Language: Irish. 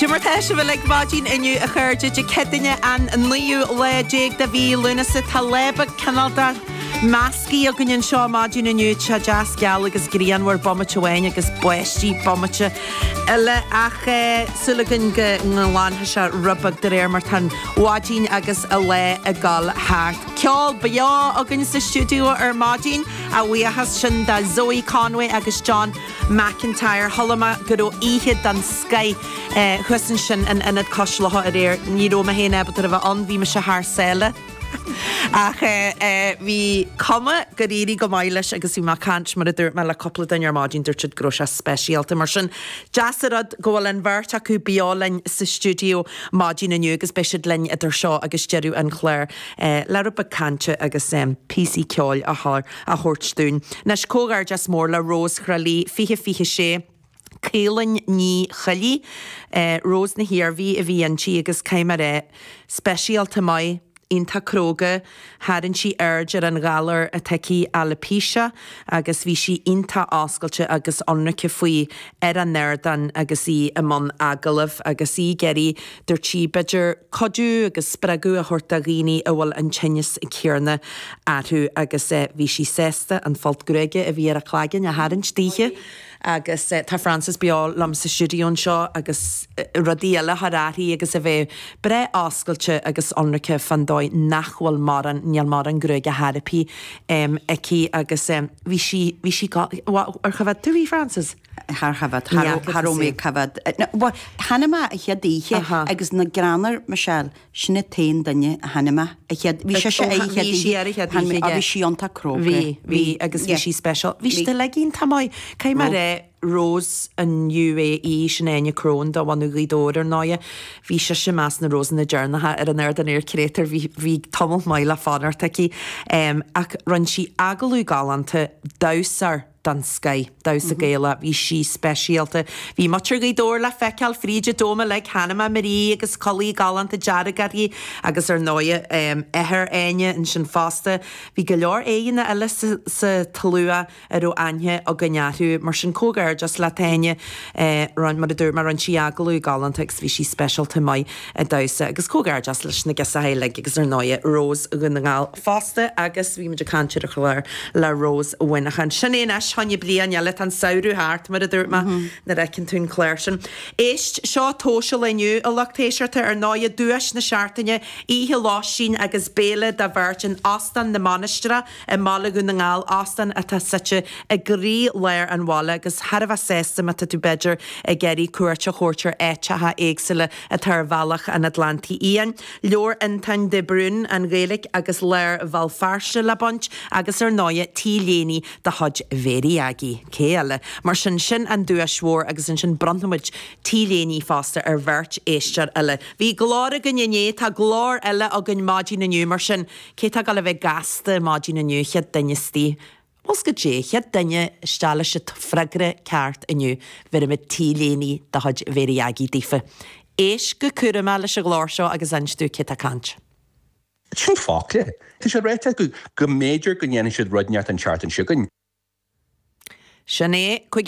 Cad é mar tá sibh uilig maidin inniu a chairde Dé Céadaoine an naoú lá déag de mhí Lúnasa. Tá lá beag cineál de meascaí againn anseo maidin inniu. Tá sé deas geal agus grianmhar bomaite amháin agus báistí bomaite eile ach súil againn go nglanfaidh sé rud beag de réir mar tá an mhaidin agus an lá ag dul thart. Ceol beo againn sa stiúideo ar maidin, a bhuíochas sin do Zoe Conway agus John McIntyre. Chuala mé go raibh oíche den scoith thuas ansin in Ionad Cois Locha aréir. Ní raibh mé féin ábalta a bheith ann, bhí mise thar sáile. Ach bhí cuma gur éirigh go maith leis agus bhí mé ag caint, mar a dúirt mé, le cúpla duine ar maidin, dúirt siad go raibh sé speisialta. Mar sin, deas an rud go bhfuil an bheirt acu beo linn sa stiúideo maidin inniu agus beidh siad linn idir seo agus deireadh an chláir le rud beag cainte agus píosaí ceoil a chur. a thabhairt dúinn. Anois, comhghairdeas mór le Rós Thrá Lí, 20 26, Caoilinn Ní Choiligh, Rós na hIarmhí a bhí inti agus caithfidh mé a rá, speisialta maith, iontach cróga, tharraing sí aird ar an ghalar atá aici, alopecia, agus bhí sí iontach oscailte agus ionraice faoi ar an ardán agus í i mbun agallaimh agus í ag iarraidh, dúirt sí, b'fhéidir cuidiú agus spreagadh a thabhairt do dhaoine a bhfuil an tinneas céanna orthu agus bhí sí sásta an folt gruaige a bhí ar a cloigeann a tharraingt daoithe agus tá Frances beo liom sa stiúideo anseo agus rudaí eile a chur uirthi agus a bheith breá oscailte agus ionraice fán dóigh nach bhfuil mórán, níl mórán gruaige therapy aici agus bhí sí, bhí sí go, ar choimhéad tú í Frances? Char choimhéad, cha raibh mé ag coimhéad. Bhuel, chonaic mé a chéad oíche agus na greannair, Michelle, sin an t-aon duine a chonaic mé, a chéad, bhí sise ar a chéad oíche. Bhí sí ar a chéad oíche, yeah. Bhí sí iontach cróga. Bhí, bhí, agus bhí sí speisial. Bhí siad uilig iontach maith. Caithfidh mé a rá, Rose an UAE, sin Áine Crone de bhunadh Ghaoth Dobhair ar ndóighe, bhí sise i measc na Rosanna deireanacha ar an ardán ar créatúr, bhí, bhí tamall maith le fanacht aici. Ach rinne sí agallamh galánta, damhsóir den scoith, damhsa Gaelach, bhí sí speisialta. Bhí muintir Ghaoth Dobhair le feiceáil fríd an dóm uilig, chonaic mé Marie agus culaith galánta dearg uirthi agus ar ndóighe athair Áine ansin fosta. Bhí go leor aíonna eile sa tslua a raibh aithne againn orthu. Mar sin comhghairdeas leat Áine, mar a dúirt mé rinne sí agallamh galánta agus bhí sí speisialta maith ag damhsa agus comhghairdeas leis na girseachaí uilig agus ar ndóighe Rós Dhún na nGall fosta agus bhí muid ag caint ar an chlár le Rós Mhuineacháin. Sin é anois, fá choinne bliain eile, tá an samhradh thart mar a dúirt mé nuair a fheiceann tú an clár sin. Éist, seo tomhas an lae inniu, a lucht éisteachta, ar ndóighe duais na seachtaine, oíche lóistín agus béile do bheirt in Óstán na Mainistreach i mbaile Dhún na nGall, óstán atá suite i gcroí-lár an bhaile agus thar a bheith sásta má tá tú b'fhéidir ag iarraidh cuairt a thabhairt ar áiteacha éagsúla atá ar bhealach an Atlantaigh Fhiáin. Leabhar Fhiontáin de Brún, An Ghaeilge agus Lár Bhéal Feirste le baint agus ar ndóighe T-léine de chuid Mhéirí Aggie. Cé eile? Mar sin, sin an duais mhór agus ansin bronnfaimid T-léiní fosta ar bheirt éisteoir eile. Bhí glór againn inné, tá glór eile againn maidin inniu mar sin Cé tá ag dul a bheith gasta maidin inniu, chéad duine istigh? Bhfuil 's goidé, chéad duine isteach leis an freagra ceart inniu, bhéarfaimid T-léine de chuid Mhéirí Aggie daofa. Éist go cúramach leis an ghlór seo agus inis dúinn cé tá ag caint. Sin focla. Tá sé ráite acu go mb'fhéidir go ndéanfaidh siad rud inteacht an tseachtain seo chugainn. Sin é.